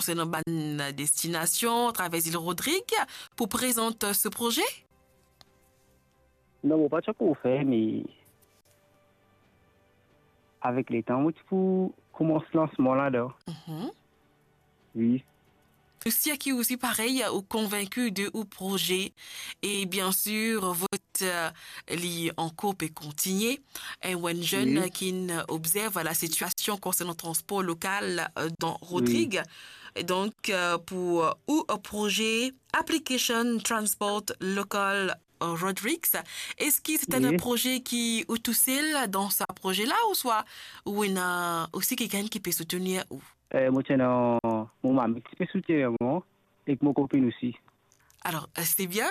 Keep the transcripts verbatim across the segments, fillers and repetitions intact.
konsernan bann destinasion atraver Zil Rodrig pou prezant se proze? Non, mo pa ti ankor fer, me avek letan, mo ti pou koumans lansman ladan. Mhm. Wi. Osi, ki osi parey, ou konvinki de ou proze, e bien sir, vot, euh, li ankor pe kontigne. E ou enn zenn, wi, ki'nn obzerv lasitiasion konsernan transpor lokal, euh, dan Rodrig. Wi. Donk, euh, pou, euh, ou, euh, proze Application Transport Local, euh, Rodrigues, eski se enn, wi, proze ki ou tousel dan sa proze la, ouswa ou ena osi kikenn ki pe soutenir ou? Eh, mo ti ena mo mami ki ti pe soutenir mwa, ek mo kopinn osi. Alor, eh, se bien.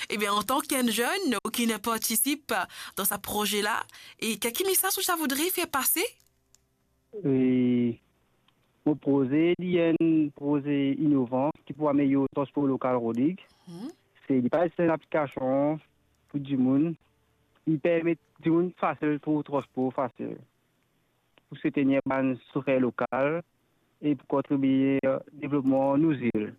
Ebien, antan ki enn zenn ou ki'nn partisip dan sa proze la, e ki, ki mesaz ou ti voudre fer pase? E mo proze, li enn proze inovan ki pou amelyor transpor lokal Rodrig. Mhm. Se, li pa zis enn aplikasion pou dimoun, li permet dimoun fasil trouv transpor fasil, pou soutenir bann sofer lokal e pou kontribie devlopman nou zil.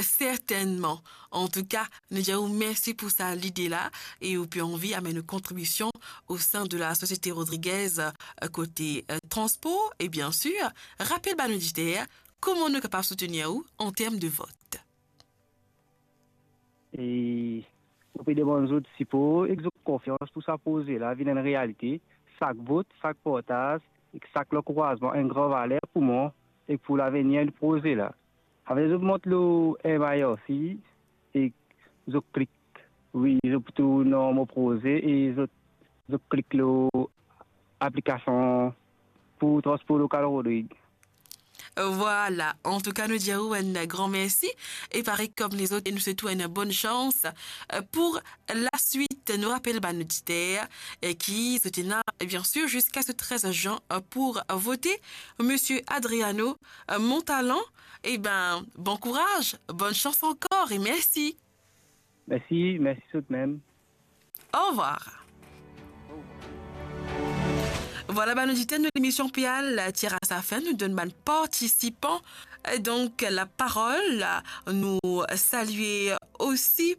Sertennman. Antouka, nou dir ou mersi pou sa lide la, e ou pe anvi amenn ou kontribision o sein de la Société Rodriguaise, euh, kote, euh, transpor, e bien sir, rapel bann oditer kouma nou kapav soutenir ou an term de vot. E mo pe demann zot sipor ek zot konfians pou sa proze la vinn enn realite. Sak vot, sak partaz ek sak lankourazman enn gran valer pou mwa ek pou lavenir de proze la. Apre zot mont lor M I R C ek zot klik, wi, zot pou trouv nom mo proze e zot, zot klik lor aplikasion pou transpor lokal Rodrig. Vwala, antouka, nou dir ou enn gran mersi, e parey kom lezot, nou swet ou enn bonn sans, euh, pou laswit. Nou rapel bann oditer, euh, ki zot ena, bien sir, ziska se trez zan, euh, pou vote Misie Adriano, euh, Montalan. Eben, bon kouraz, bonn sans ankor e mersi. Mersi, mersi zot mem. Au revoir. Vwala, bann oditer, nou lemision pe al tir a sa fin. Nou donn bann partisipan, euh, donk, laparol. Nou salie osi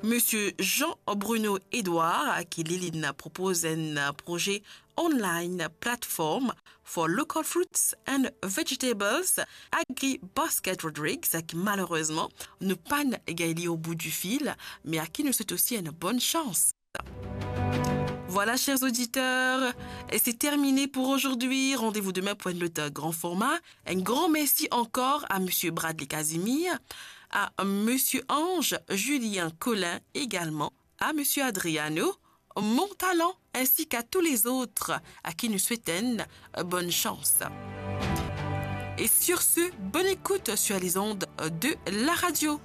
Misie Jean Bruno Edouard, ki li, li'nn propoz enn proze online platform for local fruits and vegetables, Agri Basket Rodrigues, ki malerezman, nou pa'nn gagn li au bout du fil, me a ki nou swet osi enn bonn sans. Voilà, chers auditeurs, et c'est terminé pour aujourd'hui. Rendez-vous demain pour un autre grand format. Un grand merci encore à Monsieur Bradley Casimir, à Monsieur Ange Julien Collin également, à Monsieur Adriano Montalan, ainsi qu'à tous les autres à qui nous souhaitons bonne chance. Et sur ce, bonne écoute sur les ondes de la radio.